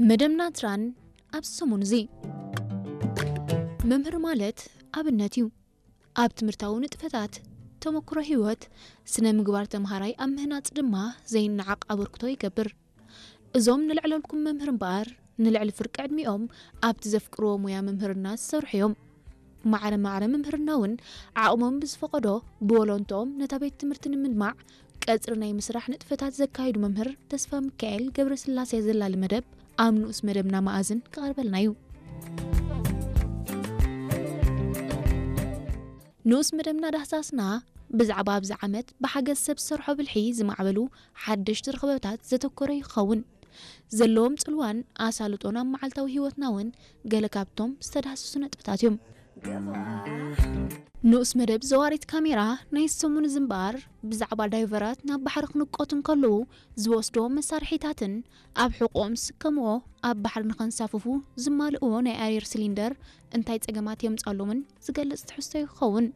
መደብ ናትራን ኣብ ሰሙን እዚ። መምህር ማለት ኣብነት እዩ። ኣብ ትምህርታዊ ንጥፈታት፣ ተመክሮ ህይወት፣ ስነ ምግባር ተምሃራይ ኣብ ምህናጽ ድማ ዘይነዓቕ ኣበርክቶ ይገብር። እዞም ንልዕለልኩም መምህር እምበኣር፣ ንልዕሊ ፍርቂ ዕድሚኦም ኣብቲ ዘፍቅርዎ ሙያ መምህርና ዝሰርሑ እዮም። ማዕረ ማዕረ መምህርና እውን ዓቕሞም ብዝፈቐዶ ብወለንትኦም ነታ ቤት ትምህርቲ ንምድማዕ ቀጽሪ ናይ ምስራሕ ንጥፈታት ዘካይዱ መምህር ተስፋ ሚካኤል ገብረስላሴ ዘላሊ መደብ ኣብ ንኡስ መደብና መኣዝን ክቐርበልና እዩ። ንኡስ መደብና ዳህሳስና ብዛዕባ ኣብዚ ዓመት ብሓገዝ ሰብ ዝሰርሖ ብልሒ ዝማዕበሉ ሓደሽቲ ርኽበታት ዘተኮረ ይኸውን። ዘለዎም ጽልዋን ኣሳልጦን ኣብ መዓልታዊ ህይወትና እውን ገለ ካብቶም ዝተዳህሰሱ ነጥብታት እዮም። ንኡስ መደብ ዘዋሪት ካሜራ ናይ ሰሙን ዝንባር ብዛዕባ ዳይቨራት ናብ ባሕሪ ክንቆቱ እንከለዉ ዝወስድዎም መሳርሒታትን ኣብ ሕቖኦም ዝስከምዎ ኣብ ባሕሪ ንኸንሳፍፉ ዝማልእዎ ናይ ኣየር ሲሊንደር እንታይ ጸገማት የምጻሎምን ዝገልጽ ትሕዝቶ ይኸውን።